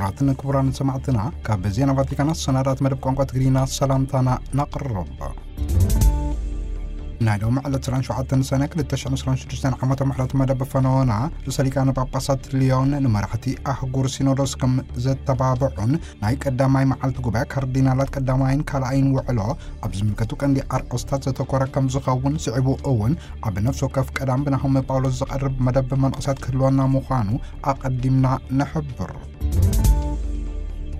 ኣትን ክቡራን ሰማዕትና፣ ካብ ዜና ቫቲካን ኣሰናዳት መደብ ቋንቋ ትግርኛ ሰላምታና ነቕርብ። ናይ ሎሚ ዕለት ዕስራን ሸውዓተን ሰነ ክልተ ሽሕን ዕስራን ሽዱሽተን ዓመተ ምሕረት መደብ ፈነወና፣ ርእሰ ሊቃነ ጳጳሳት ሊዮን ንመራሕቲ ኣህጉር ሲኖዶስ ከም ዘተባብዑን ናይ ቀዳማይ መዓልቲ ጉባኤ ካርዲናላት ቀዳማይን ካልኣይን ውዕሎ ኣብ ዝምልከቱ ቀንዲ ኣርእስታት ዘተኮረ ከም ዝኸውን ስዒቡ እውን ኣብ ነፍሲ ወከፍ ቀዳም ብናሆም ጳውሎስ ዝቐርብ መደብ መንእሳት ክህልወና ምዃኑ ኣቐዲምና ንሕብር።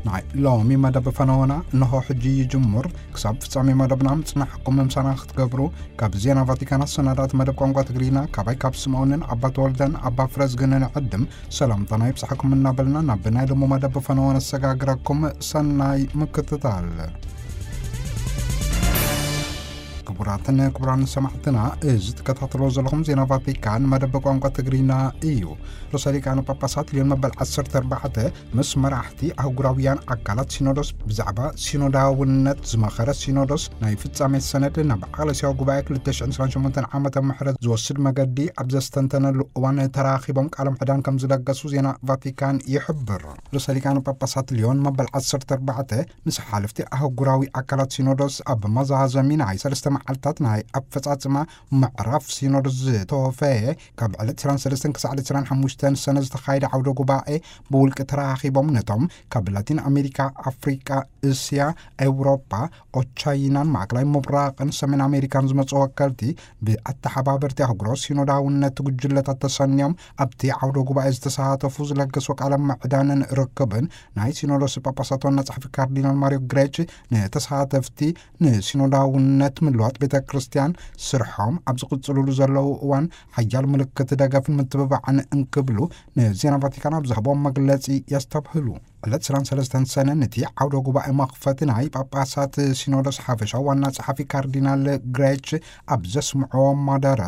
ናይ ሎሚ መደብ ፈነወና እንሆ ሕጂ ይጅምር። ክሳብ ፍጻሜ መደብና ምጽናሕኩም ምሳና ክትገብሩ ካብ ዜና ቫቲካን ኣሰናዳት መደብ ቋንቋ ትግርኛ ካባይ ካብ ስምዖንን ኣባ ተወልደን ኣባ ፍረዝግንን ዕድም ሰላምታና ይብጻሕኩም እናበልና ናብ ናይ ሎሚ መደብ ፈነወ ነሰጋግረኩም። ሰናይ ምክትታል። ክቡራትን ክቡራን ሰማዕትና፣ እዚ ትከታተሎ ዘለኹም ዜና ቫቲካን መደብ ቋንቋ ትግርኛ እዩ። ርእሰ ሊቃነ ጳጳሳት ሊዮን መበል ዓሰርተ ኣርባዕተ ምስ መራሕቲ ኣህጉራውያን ኣካላት ሲኖዶስ ብዛዕባ ሲኖዳውነት ዝመኸረ፣ ሲኖዶስ ናይ ፍጻሜ ሰነድ ናብ ዓለስያዊ ጉባኤ ክልተ ሽሕን ዕስራን ሸሞንተን ዓመተ ምሕረት ዝወስድ መገዲ ኣብ ዘስተንተነሉ እዋን ተራኺቦም ቃለ ምዕዳን ከም ዝለገሱ ዜና ቫቲካን ይሕብር። ርእሰ ሊቃነ ጳጳሳት ሊዮን መበል ዓሰርተ ኣርባዕተ ምስ ሓለፍቲ ኣህጉራዊ ኣካላት ሲኖዶስ ኣብ መዛዘሚ ናይ ሰለስተ መዓልታት ናይ ኣፈጻጽማ ምዕራፍ ሲኖዶስ ዝተወፈየ፣ ካብ ዕለት ዕስራን ሰለስተን ክሳዕ ዕለት ዕስራን ሓሙሽተን ሰነ ዝተኻየደ ዓውደ ጉባኤ ብውልቂ ተራኺቦም ነቶም ካብ ላቲን ኣሜሪካ፣ ኣፍሪቃ፣ እስያ፣ ኤውሮጳ፣ ኦቻይናን ማእከላይ ምብራቕን ሰሜን ኣሜሪካን ዝመጹ ወከልቲ ብኣተሓባበርቲ ኣህጉራዊ ሲኖዳውነት ጉጅለታት ተሰንዮም ኣብቲ ዓውደ ጉባኤ ዝተሳተፉ ዝለገሱ ቃለ ምዕዳንን ርክብን ናይ ሲኖዶስ ጳጳሳት ዋና ጸሓፊ ካርዲናል ማሪዮ ግሬች ንተሳተፍቲ ንሲኖዳውነት ምልዋጥ ቤተ ክርስቲያን ስርሖም ኣብ ዝቕጽሉሉ ዘለዉ እዋን ሓያል ምልክት ደገፍን ምትብባዕን እንክብሉ ንዜና ቫቲካን ኣብ ዝህቦም መግለጺ የስተብህሉ። ዕለት ዕስራን ሰለስተን ሰነ ነቲ ዓውደ ጉባኤ መኽፈቲ ናይ ጳጳሳት ሲኖዶስ ሓፈሻዊ ዋና ጸሓፊ ካርዲናል ግሬች ኣብ ዘስምዕዎ ማደረ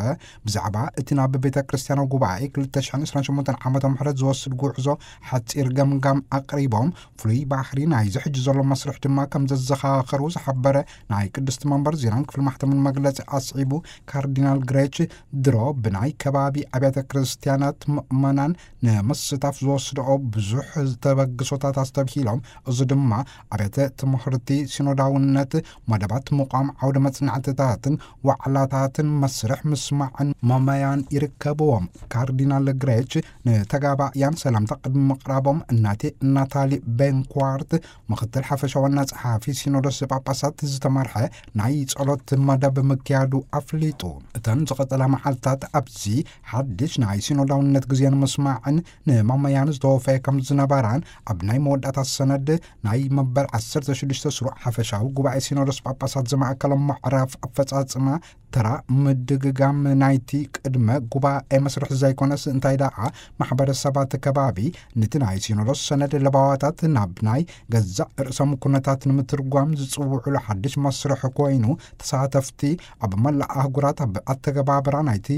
ብዛዕባ እቲ ናብ ቤተ ክርስቲያናዊ ጉባኤ ክልተ ሽሕን ዕስራን ሸሞንተን ዓመተ ምሕረት ዝወስድ ጉዕዞ ሓጺር ገምጋም ኣቕሪቦም፣ ፍሉይ ባህሪ ናይዚ ሕጂ ዘሎ መስርሕ ድማ ከም ዘዘኻኸሩ ዝሓበረ ናይ ቅድስቲ መንበር ዜናን ክፍሊ ማሕተምን መግለጺ ኣስዒቡ፣ ካርዲናል ግሬች ድሮ ብናይ ከባቢ ኣብያተ ክርስቲያናት ምእመናን ንምስታፍ ዝወስድኦ ብዙሕ ተበግሶታት ኣስተብሂሎም፣ እዚ ድማ ኣብያተ ትምህርቲ ሲኖዳውነት፣ መደባት ምቋም ዓውደ መጽናዕትታትን ዋዕላታትን መስርሕ ምስማዕን መመያን ይርከብዎም። ካርዲናል ግሬች ንተጋባእያን ሰላምታ ቅድሚ ምቕራቦም እናቴ ናታሊ ቤንኳርት ምኽትል ሓፈሻ ዋና ጸሓፊ ሲኖዶስ ጳጳሳት ዝተመርሐ ናይ ጸሎት መደብ ምክያዱ ኣፍሊጡ። እተን ዝቐጸላ መዓልታት ኣብዚ ሓድሽ ናይ ሲኖዳውነት ግዜ ንምስማዕን ንማመያን ዝተወፈየ ከም ዝነበራን ኣብ ናይ መወዳእታ ሰነድ ናይ መበል ዓሰርተ ሽዱሽተ ስሩዕ ሓፈሻዊ ጉባኤ ሲኖዶስ ጳጳሳት ዝማእከሎም ምዕራፍ ኣፈጻጽማ ተራ ምድግጋም ናይቲ ቅድመ ጉባኤ መስርሕ ዘይኮነስ እንታይ ደኣ ማሕበረሰባት ከባቢ ንቲ ናይ ሲኖዶስ ሰነድ ለባዋታት ናብ ናይ ገዛእ ርእሶም ኩነታት ንምትርጓም ዝጽውዑሉ ሓድሽ መስርሕ ኮይኑ፣ ተሳተፍቲ ኣብ መላእ ኣህጉራት ኣብ ኣተገባብራ ናይቲ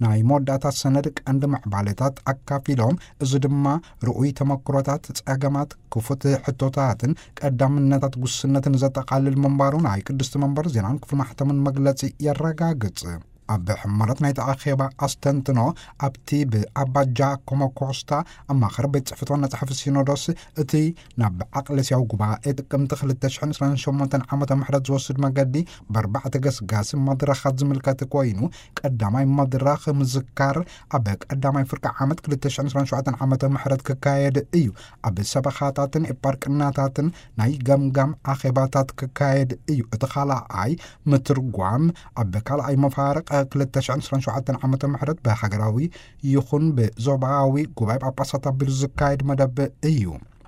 ናይ መወዳእታ ሰነድ ቀንዲ ምዕባለታት ኣካፊሎም፣ እዚ ድማ ርኡይ ተመክሮታት፣ ጸገማት፣ ክፉት ሕቶታትን ቀዳምነታት ጉስነትን ዘጠቓልል ምንባሩ ናይ ቅድስቲ መንበር ዜናን ክፍሊ ማሕተምን መግለጺ የረጋግጽ። ኣብ ሕመረት ናይቲ ኣኼባ ኣስተንትኖ ኣብቲ ብኣባ ጃኮሞ ኮስታ ኣማኻሪ ቤት ጽሕፈት ዋና ጸሓፊ ሲኖዶስ እቲ ናብ ዓቕለስያዊ ጉባኤ ጥቅምቲ ክልተ ሽሕን ዕስራን ሸሞንተን ዓመተ ምሕረት ዝወስድ መገዲ ብኣርባዕተ ገስጋሲ መድረኻት ዝምልከት ኮይኑ፣ ቀዳማይ መድረኽ ምዝካር ኣብ ቀዳማይ ፍርቂ ዓመት ክልተ ሽሕን ዕስራን ሸውዓተን ዓመተ ምሕረት ክካየድ እዩ። ኣብ ሰበኻታትን ኤጳርቅናታትን ናይ ገምጋም ኣኼባታት ክካየድ እዩ። እቲ ካልኣይ ምትርጓም ኣብ ካልኣይ መፋርቕ ክልተ ሽሕን ዕስራን ሸውዓተን ዓመተ ምሕረት ብሃገራዊ ይኹን ብዞባዊ ጉባኤ ጳጳሳት ኣቢሉ ዝካየድ መደብ እዩ።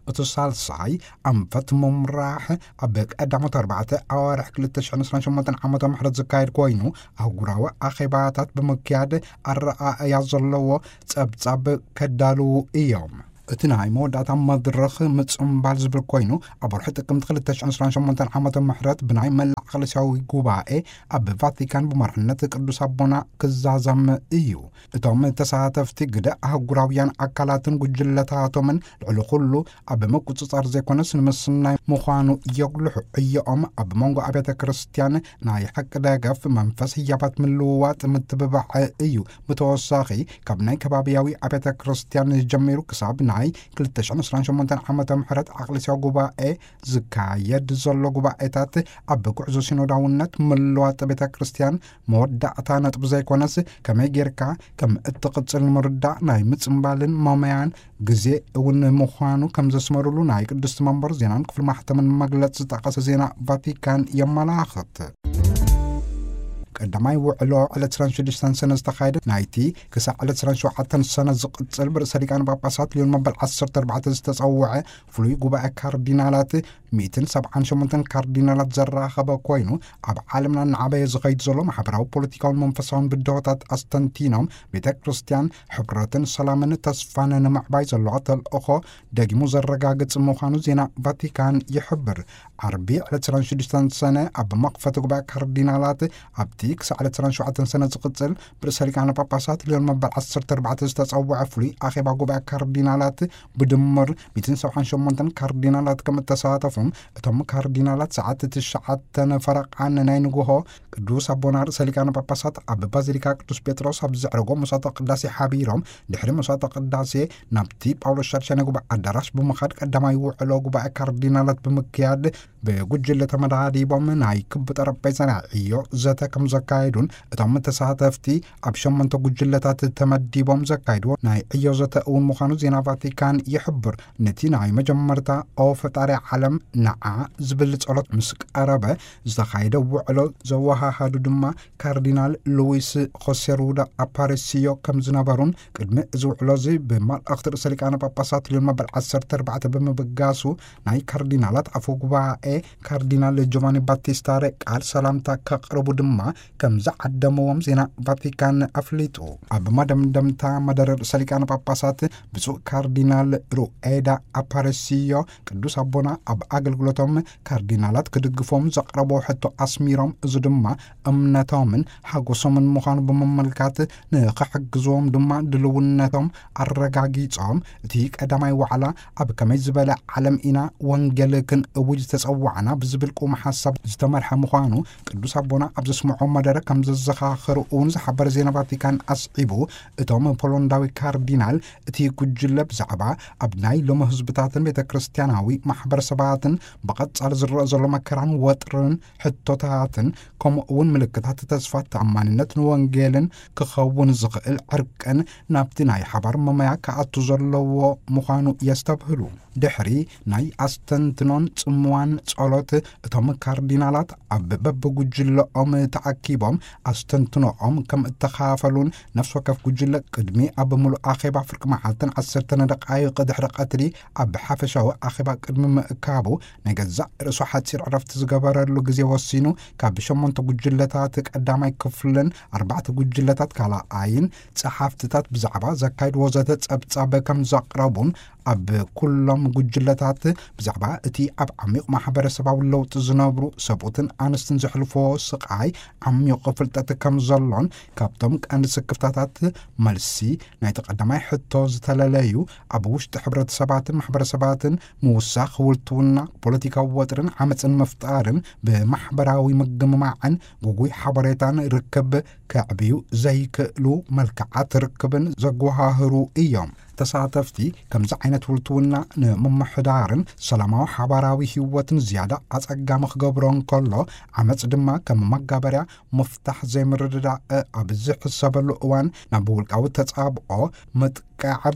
እቲ ሳልሳይ ኣንፈት ምምራሕ ኣብ ቀዳሞት ኣርባዕተ ኣዋርሕ ክልተ ሽሕን ዕስራን ሸሞንተን ዓመተ ምሕረት ዝካየድ ኮይኑ፣ ኣህጉራዊ ኣኼባታት ብምክያድ ኣረኣእያ ዘለዎ ጸብጻብ ከዳልዉ እዮም። እቲ ናይ መወዳእታ መድረኽ ምጽምባል ዝብል ኮይኑ፣ ኣብ ወርሒ ጥቅምቲ ክልተ ሽሕን ዕስራን ሸሞንተን ዓመተ ምሕረት ብናይ መላእ ኣክለሲያዊ ጉባኤ ኣብ ቫቲካን ብመርሕነት ቅዱስ ኣቦና ክዛዘም እዩ። እቶም ተሳተፍቲ ግደ ኣህጉራውያን ኣካላትን ጉጅለታቶምን ልዕሊ ኩሉ ኣብ ምቁጽጻር ዘይኮነስ ንምስናይ ምዃኑ የጉልሑ። ዕዮኦም ኣብ መንጎ ኣብያተ ክርስቲያን ናይ ሓቂ ደገፍ መንፈስ ህያባት ምልውዋጥ ምትብባዕ እዩ። ብተወሳኺ ካብ ናይ ከባቢያዊ ኣብያተ ክርስቲያን ጀሚሩ ክሳብ ናይ ክልተ ሽሕን ዕስራን ሸሞንተን ዓመተ ምሕረት ኣክለሲያዊ ጉባኤ ዝካየድ ዘሎ ጉባኤታት ኣብ ጉዕዞ ሲኖዳውነት ምልዋጥ ቤተ ክርስቲያን መወዳእታ ነጥቢ ዘይኮነስ ከመይ ጌርካ ከም እትቕጽል ንምርዳእ ናይ ምጽምባልን መመያን ግዜ እውን ምዃኑ ከም ዘስመሩሉ ናይ ቅድስቲ መንበር ዜናን ክፍሊ ማሕተምን መግለጽ ዝጠቐሰ ዜና ቫቲካን የመላኽት። ቀዳማይ ውዕሎ ዕለት ዕስራን ሽዱሽተን ሰነ ዝተኻየደ ናይቲ ክሳዕ ዕለት ዕስራን ሸውዓተን ሰነ ዝቕጽል ብርእሰ ሊቃነ ጳጳሳት ሊዮን መበል ዓሰርተ ኣርባዕተ ዝተጸውዐ ፍሉይ ጉባኤ ካርዲናላት ሚእትን ሰብዓን ሸሞንተን ካርዲናላት ዘራኸበ ኮይኑ፣ ኣብ ዓለምና እናዓበየ ዝኸይድ ዘሎ ማሕበራዊ፣ ፖለቲካውን መንፈሳውን ብድሆታት ኣስተንቲኖም፣ ቤተ ክርስቲያን ሕብረትን ሰላምን ተስፋን ንምዕባይ ዘለዋ ተልእኾ ደጊሙ ዘረጋግጽ ምዃኑ ዜና ቫቲካን ይሕብር። ዓርቢ ዕለት ዕስራን ሽዱሽተን ሰነ ኣብ መኽፈቲ ጉባኤ ካርዲናላት ኣብቲ ክሳዕ ዕለት ዕስራን ሸውዓተን ሰነ ዝቕጽል ብርእሰ ሊቃነ ጳጳሳት ሊዮን መበል ዓሰርተ ኣርባዕተ ዝተጸውዐ ፍሉይ ኣኼባ ጉባኤ ካርዲናላት ብድምር ሚእትን ሰብዓን ሸሞንተን ካርዲናላት ከም እተሳተፉም እቶም ካርዲናላት ሰዓት ትሽዓተን ፈረቓን ናይ ንግሆ ቅዱስ ኣቦና ርእሰ ሊቃነ ጳጳሳት ኣብ ባዚሊካ ቅዱስ ጴጥሮስ ኣብ ዘዕረጎ መስዋዕተ ቅዳሴ ሓቢሮም፣ ድሕሪ መስዋዕተ ቅዳሴ ናብቲ ጳውሎስ ሻድሻይ ናይ ጉባኤ ኣዳራሽ ብምኻድ ቀዳማይ ውዕሎ ጉባኤ ካርዲናላት ብምክያድ ብጉጅለ ተመዳዲቦም ናይ ክቢ ጠረጴዛ ናይ ዕዮ ዘተ ከም ዘካየዱን እቶም ተሳተፍቲ ኣብ ሸሞንተ ጉጅለታት ተመዲቦም ዘካይድዎ ናይ ዕዮ ዘተ እውን ምዃኑ ዜና ቫቲካን ይሕብር። ነቲ ናይ መጀመርታ "ኦ ፈጣሪ ዓለም፣ ንዓ" ዝብል ጸሎት ምስ ቀረበ ዝተኻየደ ውዕሎ ዘወሃሃዱ ድማ ካርዲናል ሉዊስ ሆሴ ሩዳ ኣፓሬሲዮ ከም ዝነበሩን፣ ቅድሚ እዚ ውዕሎ እዚ ብመልእኽቲ ርእሰ ሊቃነ ጳጳሳት ሊዮን መበል ዓሰርተ ኣርባዕተ ብምብጋሱ፣ ናይ ካርዲናላት ኣፈ ጉባኤ ካርዲናል ጆቫኒ ባቲስታ ሬ ቃል ሰላምታ ከቕርቡ ድማ ከም ዝዓደምዎም ዜና ቫቲካን ኣፍሊጡ። ኣብ መደምደምታ መደረ ርእሰ ሊቃነ ጳጳሳት ብፁዕ ካርዲናል ሩኤዳ ኣፓሬሲዮ ቅዱስ ኣቦና ኣብ ኣገልግሎቶም ካርዲናላት ክድግፎም ዘቕረቦ ሕቶ ኣስሚሮም፣ እዚ ድማ እምነቶምን ሓጎሶምን ምዃኑ ብምምልካት፣ ንኽሕግዝዎም ድማ ድልውነቶም ኣረጋጊጾም፣ እቲ ቀዳማይ ዋዕላ ኣብ ከመይ ዝበለ ዓለም ኢና ወንጌል ክንእውጅ ዝተጸዋዕና ብዝብል ቁም ሓሳብ ዝተመርሐ ምዃኑ ቅዱስ ኣቦና ኣብ ዘስምዖ መደረ ከም ዘዘኻኸሩ እውን ዝሓበረ ዜና ቫቲካን ኣስዒቡ፣ እቶም ፖሎንዳዊ ካርዲናል እቲ ጉጅለ ብዛዕባ ኣብ ናይ ሎሚ ህዝብታትን ቤተ ክርስቲያናዊ ማሕበረሰባትን ብቐጻሊ ዝረአ ዘሎ መከራን ወጥርን ሕቶታትን፣ ከምኡ እውን ምልክታት ተስፋ፣ ተኣማንነት ንወንጌልን ክኸውን ዝኽእል ዕርቅን ናብቲ ናይ ሓባር መመያ ክኣቱ ዘለዎ ምዃኑ የስተብህሉ። ድሕሪ ናይ ኣስተንትኖን ጽምዋን ጸሎት፣ እቶም ካርዲናላት ኣብ በብጉጅለኦም ተኣኪቦም ኣስተንትኖኦም ከም እተኻፈሉን፣ ነፍሲ ወከፍ ጉጅለ ቅድሚ ኣብ ምሉእ ኣኼባ ፍርቂ መዓልትን ዓሰርተ ደቓይቕ ድሕሪ ቀትሪ ኣብ ሓፈሻዊ ኣኼባ ቅድሚ ምእካቡ፣ ናይ ገዛእ ርእሱ ሓጺር ዕረፍቲ ዝገበረሉ ግዜ ወሲኑ፣ ካብ ሸሞንተ ጉጅለታት ቀዳማይ ክፍልን ኣርባዕተ ጉጅለታት ካልኣይን ጸሓፍትታት ብዛዕባ ዘካይድዎ ዘተ ጸብጻብ ከም ዘቕረቡን፣ ኣብ ኩሎም ጉጅለታት ብዛዕባ እቲ ኣብ ዓሚቕ ማሕበረሰባዊ ለውጢ ዝነብሩ ሰብኡትን ኣንስትን ዘሕልፍዎ ስቓይ ዓሚቕ ፍልጠት ከም ዘሎን፣ ካብቶም ቀንዲ ስክፍታታት መልሲ ናይቲ ቀዳማይ ሕቶ ዝተለለዩ፣ ኣብ ውሽጢ ሕብረተሰባትን ማሕበረሰባትን ምውሳኽ፣ ህውልትውና፣ ፖለቲካዊ ወጥርን ዓመፅን ምፍጣርን፣ ብማሕበራዊ ምግምማዕን ጉጉይ ሓበሬታን ርክብ ከዕብዩ ዘይክእሉ መልክዓት ርክብን ዘጓሃህሩ እዮም። ተሳተፍቲ ከምዚ ዓይነት ህውልትውና ንምምሕዳርን ሰላማዊ ሓባራዊ ህይወትን ዝያዳ ኣጸጋሚ ክገብሮ እንከሎ፣ ዓመጽ ድማ ከም መጋበርያ ምፍታሕ ዘይምርድዳእ ኣብ ዝሕሰበሉ እዋን፣ ናብ ውልቃዊ ተጻብኦ ምጥቃዕ፣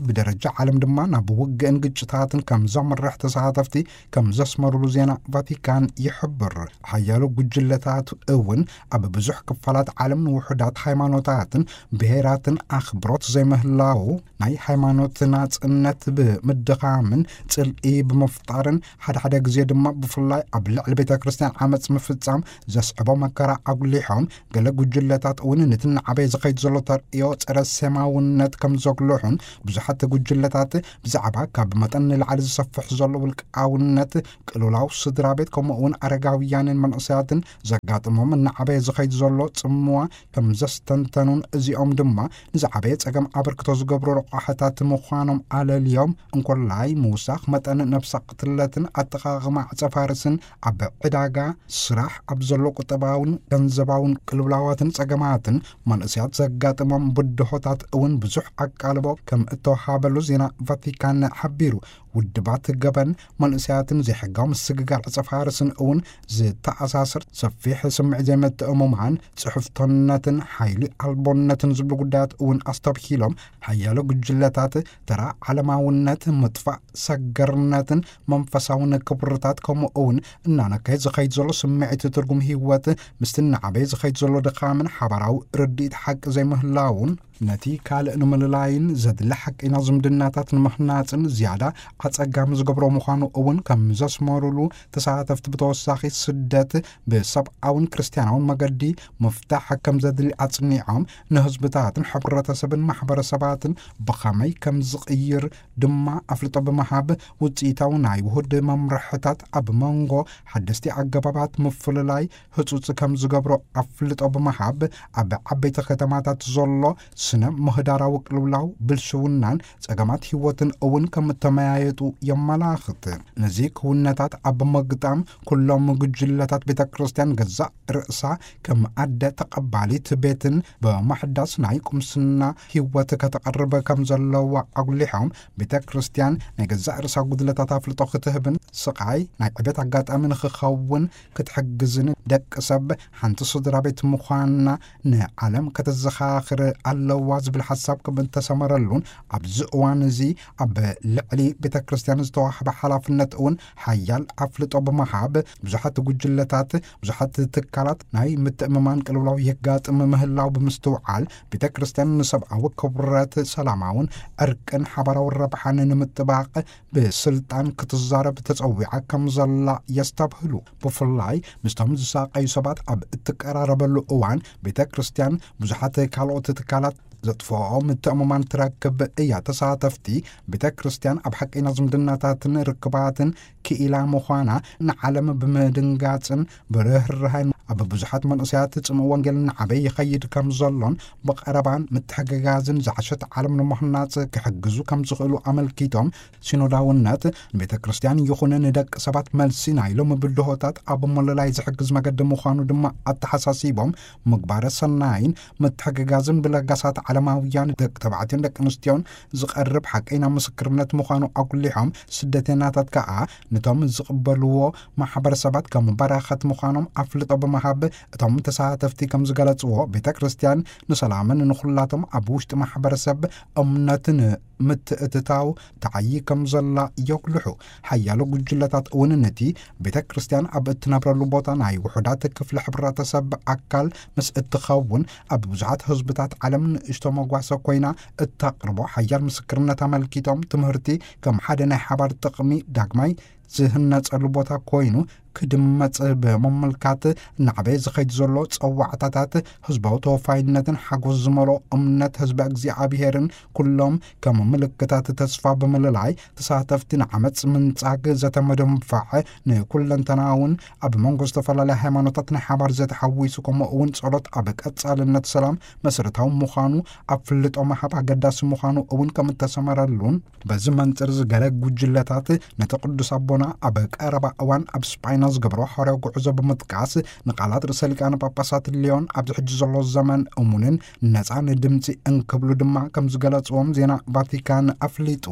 ብደረጃ ዓለም ድማ ናብ ውግእን ግጭታትን ከም ዘምርሕ ተሳተፍቲ ከም ዘስመሩሉ ዜና ቫቲካን ይሕብር። ሓያሎ ጉጅለታት እውን ኣብ ብዙሕ ክፋላት ዓለም ንውሑዳት ሃይማኖታትን ብሄራትን ኣኽብሮት ዘይምህላዉ፣ ናይ ሃይማኖት ናጽነት ብምድኻምን ጽልኢ ብምፍጣርን፣ ሓደ ሓደ ግዜ ድማ ብፍላይ ኣብ ልዕሊ ቤተ ክርስቲያን ዓመጽ ምፍጻም ዘስዕቦ መከራ ኣጉሊሖም፣ ገለ ጉጅለታት እውን ነቲ እናዓበየ ዝኸይድ ዘሎ ተርእዮ ጸረ ሴማውነት ከም ዘጉልሑን፣ ብዙሓት ጉጅለታት ብዛዕባ ካብ መጠን ንላዕሊ ዝሰፍሕ ዘሎ ውልቃውነት፣ ቅልውላው ስድራ ቤት፣ ከምኡ እውን ኣረጋውያንን መንእሰያትን ዘጋጥሞም እናዓበየ ዝኸይድ ዘሎ ጽምዋ ከም ዘስተንተኑን፣ እዚኦም ድማ ንዝዓበየ ጸገም ኣበርክቶ ዝገብሩ ረቋሕታት ምዃኖም ኣለልዮም፣ እንኮላይ ምውሳኽ መጠን ነብሰ ቅትለትን ኣጠቓቕማ ዕጸ ፋርስን ኣብ ዕዳጋ ስራሕ፣ ኣብ ዘሎ ቁጠባውን ገንዘባውን ቅልውላዋትን ጸገማትን መንእሰያት ዘጋጥሞም ብድሆታት እውን ብዙሕ ኣቃልቦ ከም እተወሃበሉ ዜና ቫቲካን ሓቢሩ። ውድባት ገበን መንእሰያትን ዘይሕጋዊ ምስግጋር ዕጸ ፋርስን እውን ዝተኣሳሰር ሰፊሕ ስምዒት ዘይምትእምማን፣ ጽሕፍቶነትን ሓይሊ ኣልቦነትን ዝብሉ ጉዳያት እውን ኣስተብሂሎም፣ ሓያሎ ጉጅለታት ተራ ዓለማውነት፣ ምጥፋእ ሰገርነትን መንፈሳውን ክብርታት፣ ከምኡ እውን እናነከየ ዝኸይድ ዘሎ ስምዒት ትርጉም ህይወት፣ ምስቲ እናዓበየ ዝኸይድ ዘሎ ድኻምን ሓባራዊ ርድኢት ሓቂ ዘይምህላውን፣ ነቲ ካልእ ንምልላይን ዘድሊ ሓቀይና ዝምድናታት ንምህናጽን ዝያዳ ኣጸጋሚ ዝገብሮ ምዃኑ እውን ከም ዘስመሩሉ፣ ተሳተፍቲ ብተወሳኺ ስደት ብሰብኣውን ክርስትያናውን መገዲ ምፍታሕ ከም ዘድሊ ኣጽኒዖም፣ ንህዝብታትን ሕብረተሰብን ማሕበረሰባትን ብኸመይ ከም ዝቕይር ድማ ኣፍልጦ ብምሃብ፣ ውጽኢታዊ ናይ ውሁድ መምርሕታት ኣብ መንጎ ሓደስቲ ኣገባባት ምፍልላይ ህጹጽ ከም ዝገብሮ ኣፍልጦ ብምሃብ፣ ኣብ ዓበይቲ ከተማታት ዘሎ ስነ ምህዳራዊ ቅልውላው፣ ብልሽውናን ጸገማት ህይወትን እውን ከም እተመያየጡ የመላኽት። ነዚ ክውነታት ኣብ ምግጣም፣ ኩሎም ጉጅለታት ቤተ ክርስቲያን ገዛእ ርእሳ ከም ኣደ ተቐባሊት ቤትን ብምሕዳስ ናይ ቁምስና ህይወት ከተቐርብ ከም ዘለዋ ኣጉሊሖም፣ ቤተ ክርስቲያን ናይ ገዛእ ርእሳ ጉድለታት ኣፍልጦ ክትህብን ስቓይ ናይ ዕቤት ኣጋጣሚ ንኽኸውን ክትሕግዝን፣ ደቂ ሰብ ሓንቲ ስድራ ቤት ምዃንና ንዓለም ከተዘኻኽር ኣለዋ ዝብል ሓሳብ ከም እተሰመረሉን፣ ኣብዚ እዋን እዚ ኣብ ልዕሊ ቤተ ክርስቲያን ዝተዋህበ ሓላፍነት እውን ሓያል ኣፍልጦ ብምሃብ፣ ብዙሓት ጉጅለታት፣ ብዙሓት ትካላት ናይ ምትእምማን ቅልውላው የጋጥም ምህላው ብምስትውዓል፣ ቤተ ክርስቲያን ንሰብኣዊ ክብረት፣ ሰላማውን ዕርቅን ሓባራዊ ረብሓን ንምጥባቕ ብስልጣን ክትዛረብ ተጸዊዓ ከም ዘላ የስተብህሉ። ብፍላይ ምስቶም ዝሳቐዩ ሰባት ኣብ እትቀራረበሉ እዋን፣ ቤተ ክርስቲያን ብዙሓት ካልኦት ትካላት ዘጥፍኦ ምትእምማን ትረክብ እያ። ተሳተፍቲ፣ ቤተ ክርስቲያን ኣብ ሓቀይና ዝምድናታትን ርክባትን ክኢላ ምዃና ንዓለም ብምድንጋጽን ብርህራሄን፣ ኣብ ብዙሓት መንእሰያት ጽምእ ወንጌል እናዓበየ ይኸይድ ከም ዘሎን፣ ብቐረባን ምትሕግጋዝን ዝዓሸት ዓለም ንምሕናጽ ክሕግዙ ከም ዝኽእሉ ኣመልኪቶም፣ ሲኖዳውነት ንቤተ ክርስቲያን ይኹን ንደቂ ሰባት መልሲ ናይሎም ብድሆታት ኣብ ምልላይ ዝሕግዝ መገዲ ምዃኑ ድማ ኣተሓሳሲቦም፣ ምግባረ ሰናይን ምትሕግጋዝን ብለጋሳት ዓለማውያን ደቂ ተባዕትዮን ደቂ ኣንስትዮን ዝቐርብ ሓቀይና ምስክርነት ምዃኑ ኣጉሊሖም፣ ስደተኛታት ከኣ ነቶም ዝቕበልዎ ማሕበረሰባት ከም በረኸት ምዃኖም ኣፍልጦ ብምሃብ፣ እቶም ተሳተፍቲ ከም ዝገለጽዎ፣ ቤተ ክርስቲያን ንሰላምን ንኹላቶም ኣብ ውሽጢ ማሕበረሰብ እምነትን ምትእትታው ተዓዪ ከም ዘላ የጉልሑ። ሓያሎ ጉጅለታት እውን ነቲ ቤተ ክርስቲያን ኣብ እትነብረሉ ቦታ ናይ ውሑዳት ክፍሊ ሕብረተሰብ ኣካል ምስ እትኸውን፣ ኣብ ብዙሓት ህዝብታት ዓለም ንእሽቶ መጓሰ ኮይና እተቕርቦ ሓያል ምስክርነት ኣመልኪቶም፣ ትምህርቲ ከም ሓደ ናይ ሓባር ጥቕሚ ዳግማይ ዝህነጸሉ ቦታ ኮይኑ ክድመጽ ብምምልካት፣ እናዕበየ ዝኸይድ ዘሎ ጸዋዕታታት ህዝባዊ ተወፋይነትን ሓጎስ ዝመልኦ እምነት ህዝቢ እግዚኣብሄርን ኩሎም ከም ምልክታት ተስፋ ብምልላይ፣ ተሳተፍቲ ንዓመጽ ምንጻግ፣ ዘተ ምድንፋዕ፣ ንኩለንተናውን ኣብ መንጎ ዝተፈላለያ ሃይማኖታት ናይ ሓባር ዘተ ሓዊሱ፣ ከምኡ እውን ጸሎት ኣብ ቀጻልነት ሰላም መሰረታዊ ምዃኑ ኣፍልጦ ምሃብ ኣገዳሲ ምዃኑ እውን ከም እተሰመረሉን፣ በዚ መንጽር እዚ ገለ ጉጅለታት ነቲ ቅዱስ ኣቦና ኣብ ቀረባ እዋን ኣብ ስጳይና ዝገብሮ ሓዋርያዊ ጉዕዞ ብምጥቃስ፣ ንቃላት ርእሰ ሊቃነ ጳጳሳት ሊዮን ኣብዚ ሕጂ ዘሎ ዘመን እሙንን ነጻን ድምጺ እንክብሉ ድማ ከም ዝገለጽዎም ዜና ቫቲካን ኣፍሊጡ።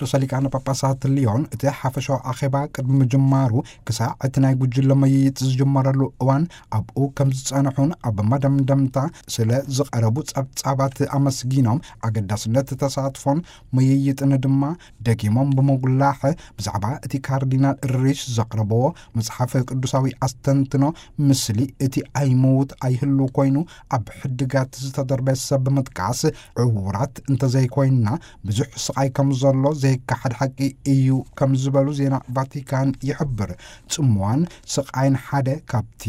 ርእሰ ሊቃነ ጳጳሳት ሊዮን እቲ ሓፈሻዊ ኣኼባ ቅድሚ ምጅማሩ ክሳዕ እቲ ናይ ጉጅለ ምይይጥ ዝጅመረሉ እዋን ኣብኡ ከም ዝጸንሑን ኣብ መደምደምታ ስለ ዝቐረቡ ጸብጻባት ኣመስጊኖም፣ ኣገዳስነት ተሳትፎን ምይይጥን ድማ ደጊሞም ብምጉላሕ፣ ብዛዕባ እቲ ካርዲናል ሪሽ ዘቕረብዎ መጽሓፍ ቅዱሳዊ ኣስተንትኖ፣ "ምስሊ እቲ ኣይምውት ኣይህሉ ኮይኑ ኣብ ሕድጋት ዝተደርበየ ሰብ" ብምጥቃስ፣ ዕዉራት እንተዘይኮይንና ብዙሕ ስቓይ ከም ዘሎ ዘይከሓድ ሓቂ እዩ ከም ዝበሉ ዜና ቫቲካን ይሕብር። ጽምዋን ስቓይን ሓደ ካብቲ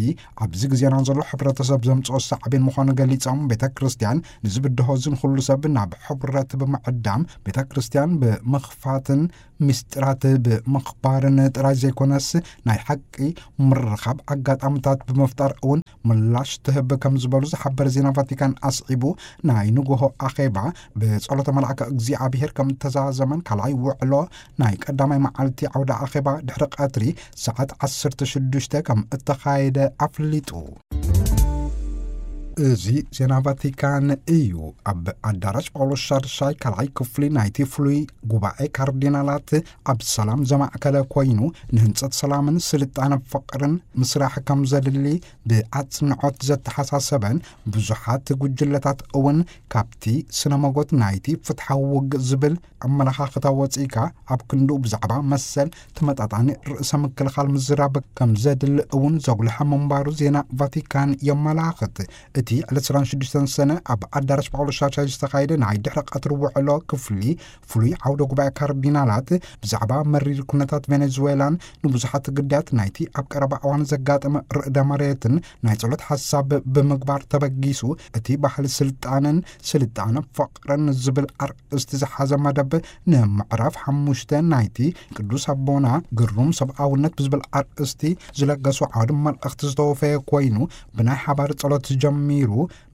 ኣብዚ ግዜና ዘሎ ሕብረተሰብ ዘምጽኦ ሳዕቤን ምዃኑ ገሊጾም፣ ቤተ ክርስቲያን ንዝብድሆ ዝን ኩሉ ሰብ ናብ ሕብረት ብምዕዳም፣ ቤተ ክርስቲያን ብምኽፋትን ምስጢራት ብምኽባርን ጥራይ ዘይኮነስ፣ ናይ ሓቂ ምርኻብ ኣጋጣምታት ብምፍጣር እውን ምላሽ ትህብ ከም ዝበሉ ዝሓበረ ዜና ቫቲካን ኣስዒቡ፣ ናይ ንግሆ ኣኼባ ብጸሎተ መልኣከ እግዚኣብሔር ከም እተዛዘመን ካልኣይ ውዕሎ ናይ ቀዳማይ መዓልቲ ዓውደ ኣኼባ ድሕሪ ቀትሪ ሰዓት ዓሰርተ ሽዱሽተ ከም እተኻየደ ኣፍሊጡ። እዚ ዜና ቫቲካን እዩ። ኣብ ኣዳራሽ ጳውሎስ ሻድሻይ ካልኣይ ክፍሊ ናይቲ ፍሉይ ጉባኤ ካርዲናላት ኣብ ሰላም ዘማእከለ ኮይኑ፣ ንህንጸት ሰላምን ስልጣነ ፍቕርን ምስራሕ ከም ዘድሊ ብኣጽንዖት ዘተሓሳሰበን፣ ብዙሓት ጉጅለታት እውን ካብቲ ስነ መጎት ናይቲ ፍትሓዊ ውግእ ዝብል ኣመለኻኽታ ወጺእካ፣ ኣብ ክንድኡ ብዛዕባ መሰል ተመጣጣኒ ርእሰ ምክልኻል ምዝራብ ከም ዘድሊ እውን ዘጉልሐ ምንባሩ ዜና ቫቲካን የመላኽት። እቲ ዕለት ዕስራን ሽዱሽተን ሰነ ኣብ ኣዳራሽ ጳውሎስ ሻድሻይ ዝተኻየደ ናይ ድሕሪ ቀትሪ ውዕሎ ክፍሊ ፍሉይ ዓውደ ጉባኤ ካርዲናላት ብዛዕባ መሪር ኩነታት ቬኔዙዌላን ንብዙሓት ግዳያት ናይቲ ኣብ ቀረባ እዋን ዘጋጠመ ርእደ መሬትን ናይ ጸሎት ሓሳብ ብምግባር ተበጊሱ፣ እቲ ባህሊ ስልጣንን ስልጣነ ፍቕርን ዝብል ኣርእስቲ ዝሓዘ መደብ ንምዕራፍ ሓሙሽተ ናይቲ ቅዱስ ኣቦና ግሩም ሰብኣውነት ብዝብል ኣርእስቲ ዝለገሱ ዓውዲ መልእኽቲ ዝተወፈየ ኮይኑ፣ ብናይ ሓባር ጸሎት ጀሚሩ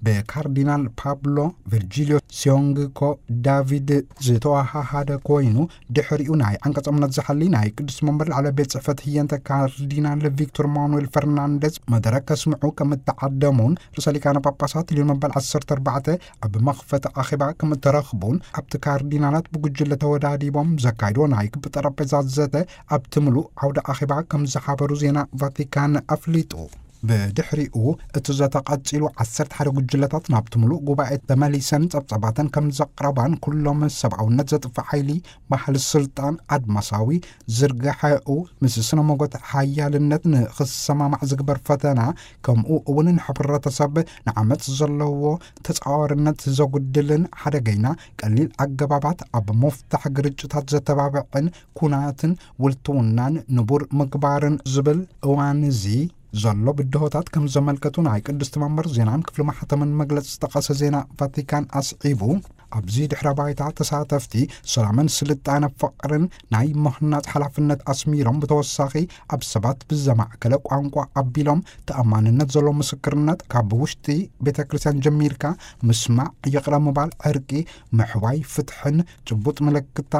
ብካርዲናል ፓብሎ ቨርጂልዮ ሲዮንግኮ ዳቪድ ዝተወሃሃደ ኮይኑ፣ ድሕሪኡ ናይ ዓንቀጸ እምነት ዝሓሊ ናይ ቅዱስ መንበር ላዕለ ቤት ጽሕፈት ህየንተ ካርዲናል ቪክቶር ማኑኤል ፈርናንደዝ መደረ ከስምዑ ከም እተዓደሙን፣ ርእሰ ሊቃነ ጳጳሳት ሊዮን መበል ዓሰርተ ኣርባዕተ ኣብ መኽፈቲ ኣኼባ ከም እተረኽቡን፣ ኣብቲ ካርዲናላት ብጉጅለ ተወዳዲቦም ዘካይድዎ ናይ ክቢ ጠረጴዛ ዘተ ኣብቲ ምሉእ ዓውደ ኣኼባ ከም ዝሓበሩ ዜና ቫቲካን ኣፍሊጡ። ብድሕሪኡ እቲ ዘተ ቀጺሉ፣ ዓሰርተ ሓደ ጉጅለታት ናብቲ ምሉእ ጉባኤ ተመሊሰን ጸብጻባተን ከም ዘቕረባን፣ ኩሎም ሰብኣውነት ዘጥፍእ ሓይሊ፣ ባህሊ ስልጣን፣ ኣድማሳዊ ዝርግሐኡ ምስ ስነ መጎት ሓያልነት ንኽሰማማዕ ዝግበር ፈተና፣ ከምኡ እውን ንሕብረተሰብ ንዓመጽ ዘለዎ ተጻዋርነት ዘጉድልን ሓደገይና ቀሊል ኣገባባት ኣብ ምፍታሕ ግርጭታት ዘተባብዕን ኩናትን ውልትውናን ንቡር ምግባርን ዝብል እዋን እዚ ዘሎ ብድሆታት ከም ዘመልከቱ ናይ ቅድስቲ መንበር ዜናን ክፍሊ ማሕተምን መግለጺ ዝጠቐሰ ዜና ቫቲካን ኣስዒቡ፣ ኣብዚ ድሕረ ባይታ ተሳተፍቲ ሰላምን ስልጣነ ፍቕርን ናይ ምህናጽ ሓላፍነት ኣስሚሮም፣ ብተወሳኺ ኣብ ሰባት ብዘማእከለ ቋንቋ ኣቢሎም ተኣማንነት ዘለዎ ምስክርነት ካብ ውሽጢ ቤተ ክርስቲያን ጀሚርካ ምስማዕ፣ ይቕረ ምባል፣ ዕርቂ፣ ምሕዋይ፣ ፍትሕን ጭቡጥ ምልክታ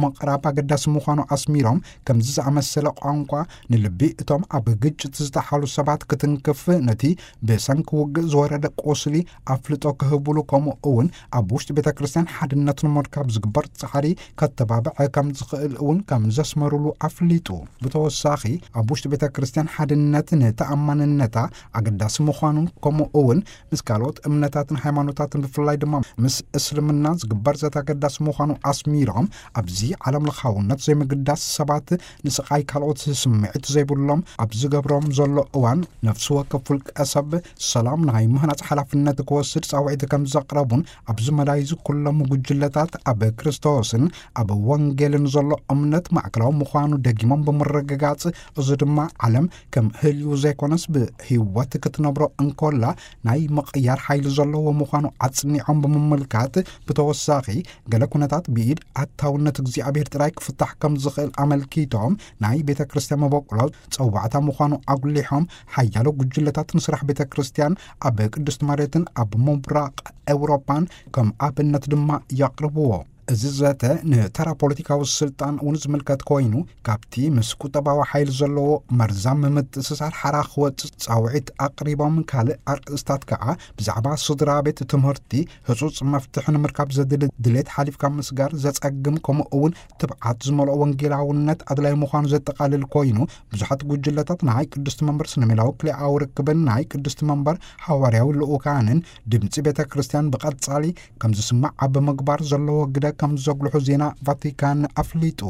ምቕራብ ኣገዳሲ ምዃኑ ኣስሚሮም፣ ከምዚ ዝኣመሰለ ቋንቋ ንልቢ እቶም ኣብ ግጭት ዝተሓሉ ሰባት ክትንክፍ፣ ነቲ ብሰንኪ ውግእ ዝወረደ ቁስሊ ኣፍልጦ ክህብሉ፣ ከምኡ እውን ኣብ ውሽጢ ቤተ ክርስቲያን ሓድነት ንምርካብ ዝግበር ጻዕሪ ከተባብዐ ከም ዝኽእል እውን ከም ዘስመሩሉ ኣፍሊጡ። ብተወሳኺ፣ ኣብ ውሽጢ ቤተ ክርስቲያን ሓድነት ንተኣማንነታ ኣገዳሲ ምዃኑን፣ ከምኡ እውን ምስ ካልኦት እምነታትን ሃይማኖታትን፣ ብፍላይ ድማ ምስ እስልምና ዝግበር ዘተ ኣገዳሲ ምዃኑ ኣስሚሮም፣ ኣብዚ ዓለም ለኻውነት ዘይምግዳስ፣ ሰባት ንስቓይ ካልኦት ስምዒት ዘይብሎም ኣብ ዝገብሮም ዘሎ እዋን፣ ነፍሲ ወከፍ ውልቀ ሰብ ሰላም ናይ ምህናጽ ሓላፍነት ክወስድ ጻውዒት ከም ዘቕረቡን፣ ኣብዚ መዳይ እዚ ኩሎም ጉጅለታት ኣብ ክርስቶስን ኣብ ወንጌልን ዘሎ እምነት ማእከላዊ ምዃኑ ደጊሞም ብምርግጋጽ፣ እዚ ድማ ዓለም ከም ህልዩ ዘይኮነስ ብህይወት ክትነብሮ እንኮላ ናይ ምቕያር ሓይሊ ዘለዎ ምዃኑ ኣጽኒዖም ብምምልካት፣ ብተወሳኺ፣ ገለ ኩነታት ብኢድ ኣታውነት እግዚኣብሔር ጥራይ ክፍታሕ ከም ዝኽእል ኣመልኪቶም፣ ናይ ቤተ ክርስቲያን መበቆሎ ጸዋዕታ ምዃኑ ኣጉሊሖም፣ ሓያሎ ጉጅለታት ንስራሕ ቤተ ክርስቲያን ኣብ ቅድስቲ መሬትን ኣብ ምብራቕ ኤውሮጳን ከም ኣብነት ድማ የቕርብዎ። እዚ ዘተ ንተራ ፖለቲካዊ ስልጣን እውን ዝምልከት ኮይኑ፣ ካብቲ ምስ ቁጠባዊ ሓይሊ ዘለዎ መርዛም ምምጥስሳር ሓራ ክወጽእ ጻውዒት ኣቕሪቦም፣ ካልእ ኣርእስታት ከኣ ብዛዕባ ስድራ ቤት፣ ትምህርቲ፣ ህጹጽ መፍትሒ ንምርካብ ዘድሊ ድሌት ሓሊፍካ ምስጋር ዘጸግም፣ ከምኡ እውን ትብዓት ዝመልኦ ወንጌላውነት ኣድላይ ምዃኑ ዘጠቓልል ኮይኑ፣ ብዙሓት ጉጅለታት ናይ ቅድስቲ መንበር ስነ ሜላዊ ክልኤኣዊ ርክብን ናይ ቅድስቲ መንበር ሃዋርያዊ ልኡካንን ድምጺ ቤተ ክርስቲያን ብቐጻሊ ከም ዝስማዕ ኣብ ምግባር ዘለዎ ግደ ከም ዘጉልሑ ዜና ቫቲካን ኣፍሊጡ።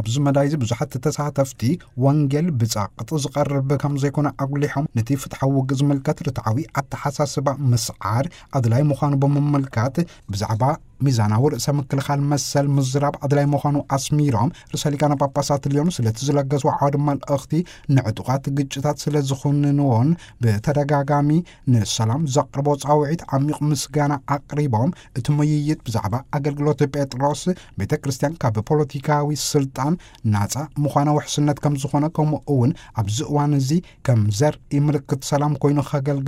ኣብዚ መዳይ እዚ ብዙሓት ተሳተፍቲ፣ ወንጌል ብጻቕጥ ዝቐርብ ከም ዘይኮነ ኣጉሊሖም፣ ነቲ ፍትሓዊ ውግእ ዝምልከት ርትዓዊ ኣተሓሳስባ ምስዓር ኣድላይ ምዃኑ ብምምልካት፣ ብዛዕባ ሚዛናዊ ርእሰ ምክልኻል መሰል ምዝራብ ኣድላይ ምዃኑ ኣስሚሮም፣ ርእሰ ሊቃነ ጳጳሳት ልዮን ስለቲ ዝለገስዎ ዓውዲ መልእኽቲ ንዕጡቓት ግጭታት ስለ ዝኹንንዎን ብተደጋጋሚ ንሰላም ዘቕርቦ ጻውዒት ዓሚቕ ምስጋና ኣቕሪቦም፣ እቲ ምይይጥ ብዛዕባ ኣገልግሎት ጴጥሮስ፣ ቤተ ክርስቲያን ካብ ፖለቲካዊ ስልጣን ናጻ ምዃና ውሕስነት ከም ዝኾነ፣ ከምኡ እውን ኣብዚ እዋን እዚ ከም ዘርኢ ምልክት ሰላም ኮይኑ ከገልግል